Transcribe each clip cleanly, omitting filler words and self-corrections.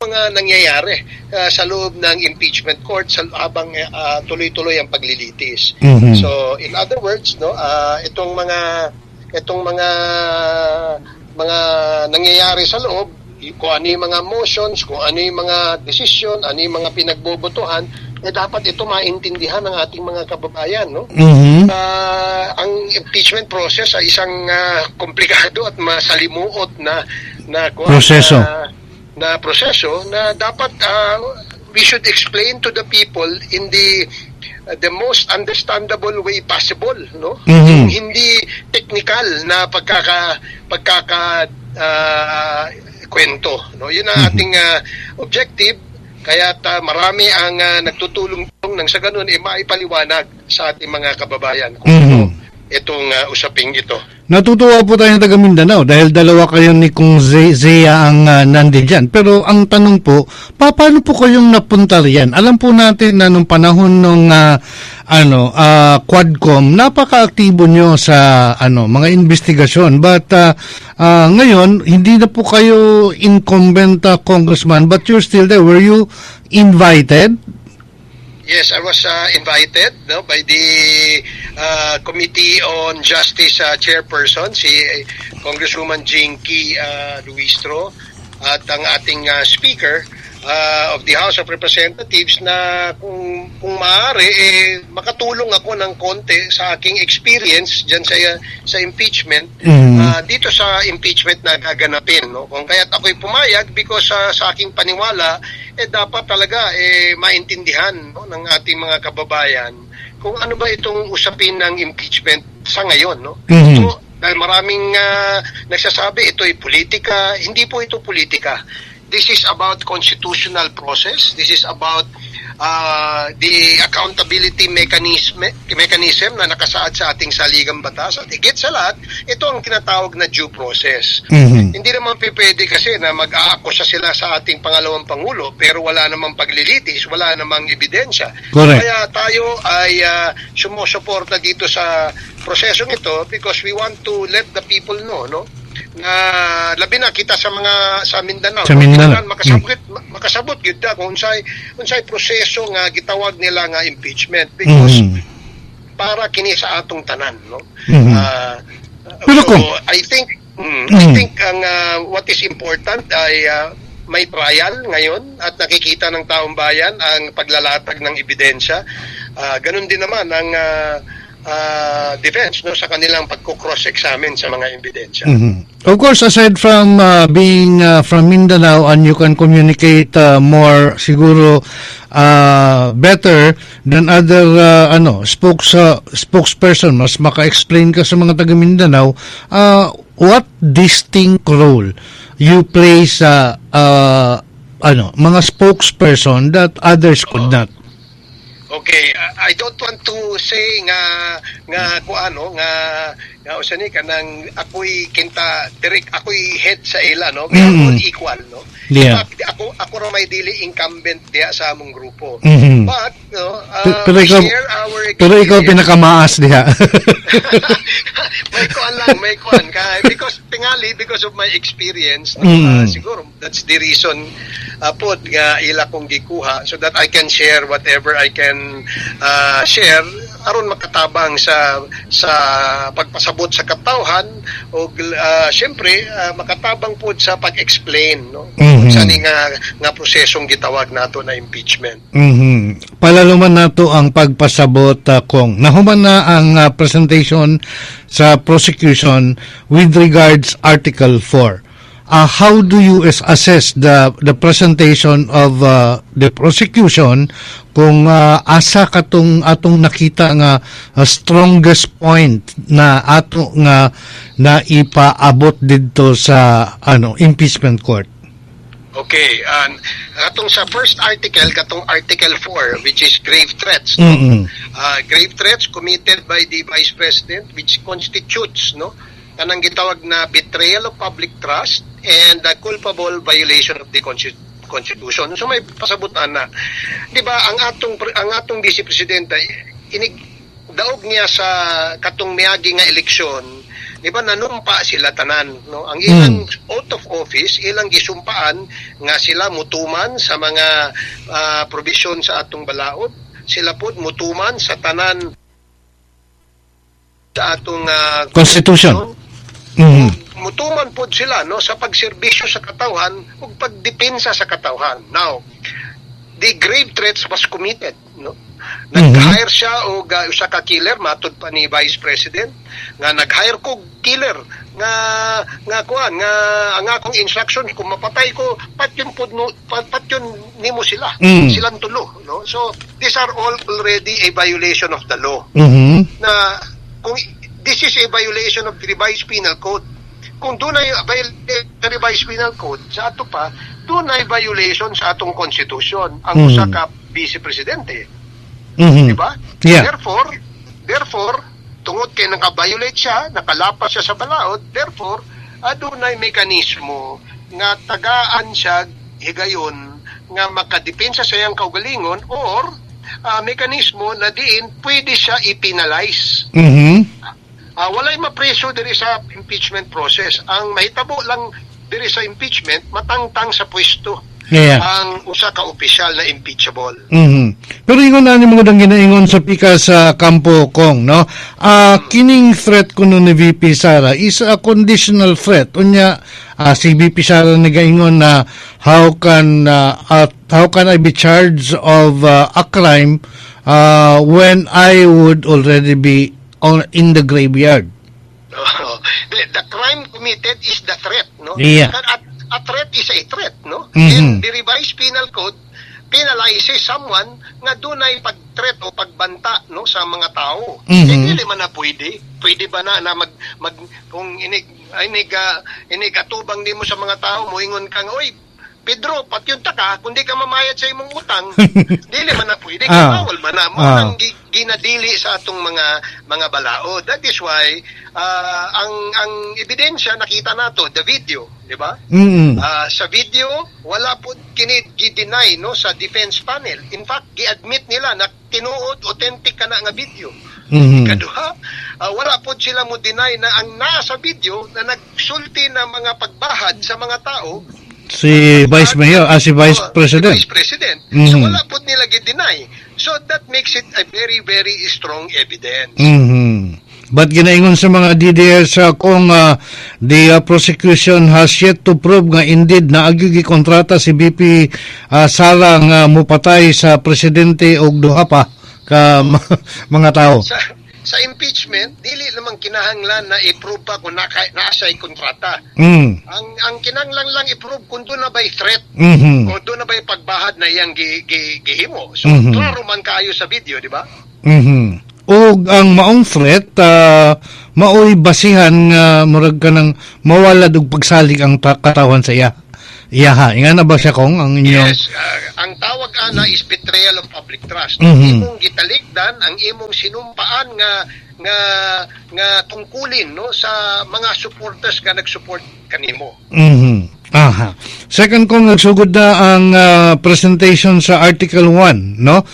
mga nangyayari sa loob ng impeachment court sa habang tuloy-tuloy ang paglilitis. So in other words, no, itong mga nangyayari sa loob, kung ano yung mga motions, kung ano yung mga desisyon, ano yung mga pinagbobotohan, eh dapat ito maintindihan ng ating mga kababayan, no? Ang impeachment process ay isang komplikado at masalimuot na na kuwan, Proseso. na proseso na dapat we should explain to the people in the most understandable way possible, no? Yung hindi technical na pagkaka pagkaka kwento, no? Yun ang ating objective, kaya marami ang nagtutulong nang sa ganun eh maipaliwanag sa ating mga kababayan kung ano itong usaping ito. Natutuwa po tayo ng taga Mindanao dahil dalawa kayo ni Kong Zia ang nandiyan. Pero ang tanong po, paano po kayong napunta riyan? Alam po natin na nung panahon nung ano Quadcom, napakaaktibo nyo sa ano mga investigasyon. But ngayon, hindi na po kayo incumbent congressman, but you're still there. Were you invited? Yes, I was invited, no, by the Committee on Justice chairperson, si Congresswoman Jinky Luistro, at ang ating speaker of the House of Representatives na kung maaari eh makatulong ako ng konti sa aking experience diyan sa impeachment dito sa impeachment na gaganapin, no? Kung kaya't ako'y pumayag because sa aking paniwala eh dapat talaga eh maintindihan, no, ng ating mga kababayan kung ano ba itong usapin ng impeachment sa ngayon, no? So dahil maraming nagsasabi ito'y politika, hindi po ito politika. This is about constitutional process. This is about the accountability mechanism mechanism na nakasaad sa ating saligang batas, at higit sa lahat, ito ang tinatawag na due process. Hindi naman pwede kasi na mag-aakusa sila sa ating pangalawang pangulo pero wala namang paglilitis, wala namang ebidensya. Kaya tayo ay sumusuporta dito sa prosesong ito because we want to let the people know, no, na labi na kita sa mga sa Mindanao, Sa no? Mindanao. Kinahanglan makasabot gyud ta kung unsay unsay proseso nga gitawag nila nga impeachment because para kini sa atong tanan, no? Pero So, I think ang what is important ay may trial ngayon at nakikita ng taong bayan ang paglalatag ng ebidensya. Ganun din naman ang defense, no, sa kanilang pagko-cross-examine sa mga ebidensya. Of course, aside from being from Mindanao and you can communicate more siguro better than other ano spokesperson, mas maka-explain ka sa mga taga Mindanao, what distinct role you play sa ano mga spokesperson that others could not? Okay, I don't want to say nga nga kung ano nga nga usa ni kanang ako'y kinta direct, ako'y head sa ila, no? We are all equal, no? In fact, ako ako ra may dili incumbent diha sa among grupo. But no, Pero we ikaw share our pero ikaw experience. Pinakamaas diha. May kuan lang, may kuan ka because tingali because of my experience, no, siguro that's the reason pod nga ila kong gikuha so that I can share whatever I can share aron makatabang sa pagpasabot sa katawhan o syempre makatabang pod sa pag-explain, no, sa ni nga nga prosesong gitawag nato na impeachment. Palaluman nato ang pagpasabot kung nahuman na ang presentation sa prosecution with regards Article 4. How do you assess the presentation of the prosecution kung asa katong atong nakita nga strongest point na ato nga na ipaabot didto sa ano impeachment court? Okay, and katong sa first article, katong Article 4, which is grave threats, no? Grave threats committed by the Vice President which constitutes, no, kanang gitawag na betrayal of public trust and the culpable violation of the Constitution. So may pasabutan na. 'Di ba ang atong vice presidente inig daog niya sa katong miagi nga eleksyon Di ba nanumpa sila tanan, no? Ang ilang oath of office, ilang gisumpaan nga sila mutuman sa mga provision sa atong balaod, sila pod mutuman sa tanan sa atong Constitution. Mutuman pod sila, no, sa pagserbisyo sa katawhan ug pagdepensa sa katawhan. Now, the grave threats was committed, no? Nag-hire siya og usa ka killer, matud pa ni Vice President nga nag-hire ko killer nga nga kuan nga ang akong instruction, kung mapatay ko, patyon pod no, patyon nimo sila, silang tulo, no? So these are all already a violation of the law na kung this is a violation of the Revised Penal Code. Kung dunay violation sa Revised Penal Code sa ato pa, dunay violation sa atong constitution ang usa ka vice presidente, di ba? Yeah. Therefore, tungod kay naka-violate siya, nakalapas siya sa balaod, therefore, adunay mekanismo nga tagaan siya higayon nga makadepensa sa iyang kaugalingon or mekanismo na diin pwede siya i-penalize. Walay mapreso diri sa impeachment process. Ang mahitabo lang diri sa impeachment, matangtang sa pwesto ang usa ka opisyal na impeachable. Pero ingon na ni mga dang ginaingon sa pika sa kampo, Kong, no? Kining threat kuno ni VP Sara is a conditional threat. Unya si VP Sara nagaingon na how can I be charged of a crime when I would already be on in the graveyard? The crime committed is the threat, no? A threat is a threat, no? And the Revised Penal Code penalizes someone nga dunay pag-threat o pagbanta, no, sa mga tao. Eh, dili man na pwede. Pwede ba na na mag, mag kung inig inig inig atubang nimo sa mga tao, moingon kang, "Oy Pedro, patyon ta ka kung di ka mamayad sa imong utang"? Dili man na pwede, kay bawal man na mo nang ginadili sa atong mga balaod. That is why ang ebidensya nakita nato, the video, di ba? Sa video, wala po kini gi-deny, no, sa defense panel. In fact, gi-admit nila na tinuod, authentic kana nga video. Kaduha, wala po sila mo deny na ang nasa video na nagsulti na mga pagbahad sa mga tao Si Vice Mayor, si Vice Oh, President. si Vice President. So wala po nila gi-deny. So that makes it a very, very strong evidence. But ginaingon sa mga DDS kung the prosecution has yet to prove nga indeed na gi kontrata si VP Sara nga mupatay sa presidente og duha pa ka mga tao. Sa impeachment, dili naman kinahanglan na i-prove pa kung naa siya'y kontrata. Ang kinahanglan lang i-prove kung duna ba'y threat o duna ba'y pagbahad na iyang gihimo. So, klaro man kayo sa video, di ba? Og ang maong threat maoy basihan nga murag kanang mawalad og pagsalig ang katawan sa iya. Iyaha. Inga na ba siya, Kong, ang inyong Yes, ang tawag ana is betrayal of public trust. Imong gitalikdan ang imong sinumpaan nga tungkulin, no, sa mga supporters nga nag-support kanimo. Aha. Second, kung nagsugod na ang presentation sa Article 1, no?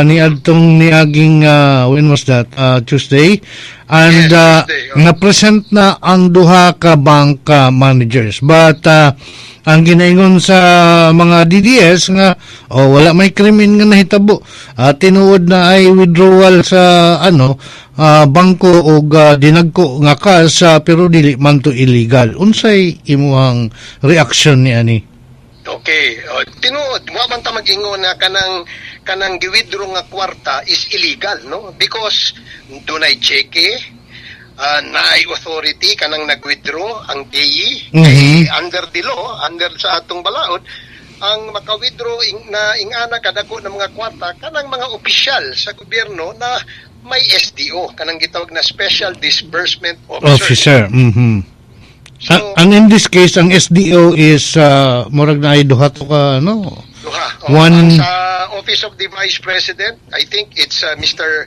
Ni adtong niaging when was that? Tuesday. And Yes, Tuesday, oh. na-present na ang duha ka bank managers. But ang ginaingon sa mga DDS nga, oh, wala may krimen nga nahitabo. Tinuod na ay withdrawal sa ano bangko og dinagko nga cash, pero dili man to illegal. Unsay imuhang reaksyon ni ani? Okay, oh, tinuod, wa man ta mag-ingon na kanang kanang gi-withdraw nga kwarta is illegal, no? Because dunay cheque, naay authority kanang nag-withdraw, ang payee. Kay under the law, under sa atong balaod, ang maka-withdraw na ingana kadako ng mga kwarta kanang mga opisyal sa gobyerno na may SDO, kanang gitawag na Special Disbursement Officer. Officer. So, And in this case, ang SDO is murag na ay duha to ka ano? Duha. Oh, One ang sa Office of the Vice President, I think it's Mr.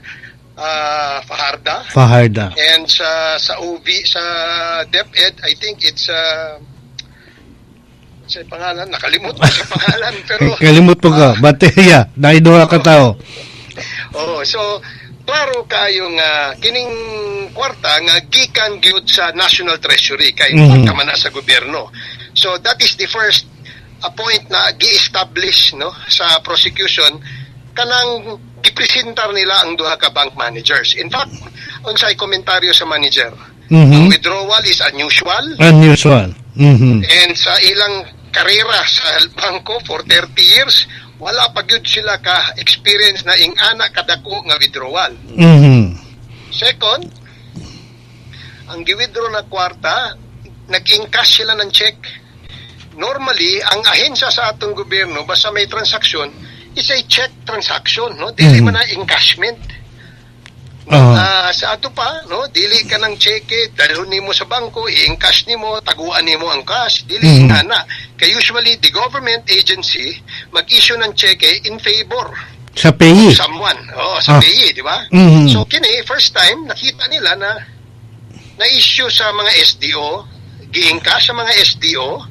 Fajarda. Fajarda. And sa OV, sa DepEd, I think it's sa pangalan, nakalimot ko sa pangalan, pero Kalimot po ka. But yeah, naay duha ka tao. Oh, so Klaro kayo nga kining kwarta nga gikan gyud sa National Treasury kay kwarta man na sa gobyerno. So that is the first a point na gi-establish, no, sa prosecution kanang gipresentar nila ang duha ka bank managers. In fact, unsay komentaryo sa manager? Ang withdrawal is unusual Unusual. And sa ilang karera sa bangko for 30 years, wala pa gyud sila ka experience na ing-ana kadako nga withdrawal. Second, ang gi-withdraw na kwarta, nag-encash sila ng check. Normally, ang ahensya sa atong gobyerno, basta may transaksyon, is a check transaction, no? Dili man na encashment. Sa ato pa, no, dili ka ng cheque, dalhon nimo sa bangko, i-encash nimo, taguan nimo ang cash, dili ana. Kay usually the government agency mag-issue ng cheque in favor Sa payee. Someone. Oh, sa payee, di ba? So kini first time nakita nila na na-issue sa mga SDO, gi-encash sa mga SDO,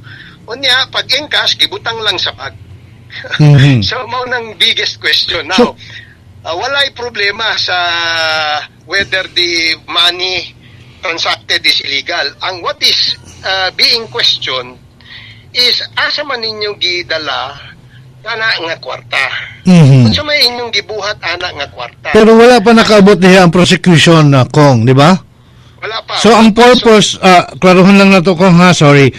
unya pag encash gibutang lang sa bag. So mao nang biggest question now. Walay problema sa whether the money transacted is illegal. Ang what is being questioned is asa man ninyo gidala kana nga kwarta. Unsa may inyong gibuhat ana nga kwarta? Pero wala pa nakaabot diha ang prosecution na Kong, di ba? Wala pa. So ang purpose, klarohon lang nato, Kong, ha, sorry.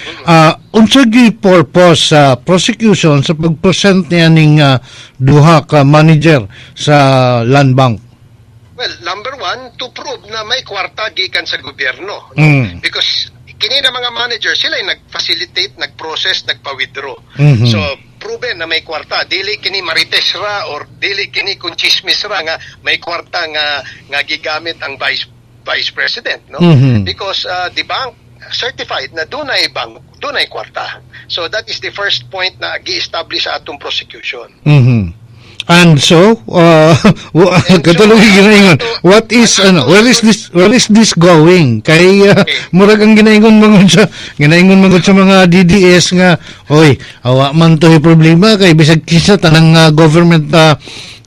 Unsa gyud purpose sa prosecution sa pag-present niya ning duha ka manager sa Land Bank? Well, number one, to prove na may kwarta gikan sa gobyerno. No? Because kini na mga manager, sila yung nag-facilitate, nag-process, nagpa-withdraw. So, proven na may kwarta. Dili kini marites ra or dili kini kung chismis ra nga may kwarta nga gigamit ang vice president, no? Because the bank certified na dunay bank, dunay kwarta. So that is the first point na gi-establish sa atong prosecution. And so, katulong ginaingon, what is, ano, where is this going? Kay, murag ang ginaingon man gud sa mga DDS nga, "Oy, awa man to problema kay bisag kinsa, tanang government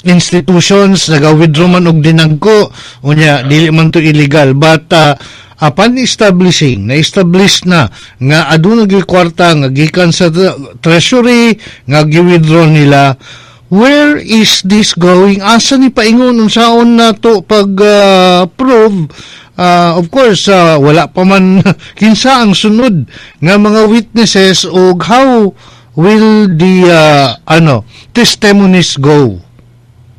institutions naga-withdraw man og dinagko, unya dili man to illegal." But upon establishing, na-establish na nga aduna gyud kwarta nga gikan sa treasury nga gi-withdraw nila, where is this going? Asa ni paingon? Unsaon na to pag prove? Of course, wala pa man kinsa ang sunod nga mga witnesses ug how will the ano, testimonies go?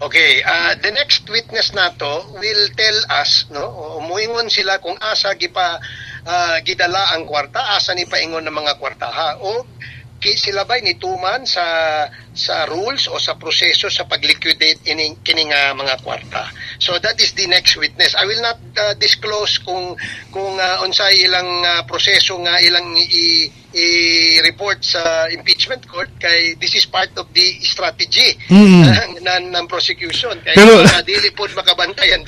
Okay, the next witness nato will tell us, no, muingon sila kung asa gipa gidala ang kwarta, asa ni paingon ng mga kwarta ha, o ki sila ba'y nituman sa rules o sa proseso sa pag-liquidate ining kini nga mga kwarta. So that is the next witness. I will not disclose kung unsay ilang proseso nga ilang i-report sa impeachment court kay this is part of the strategy ng prosecution kay dili pod makabantay ang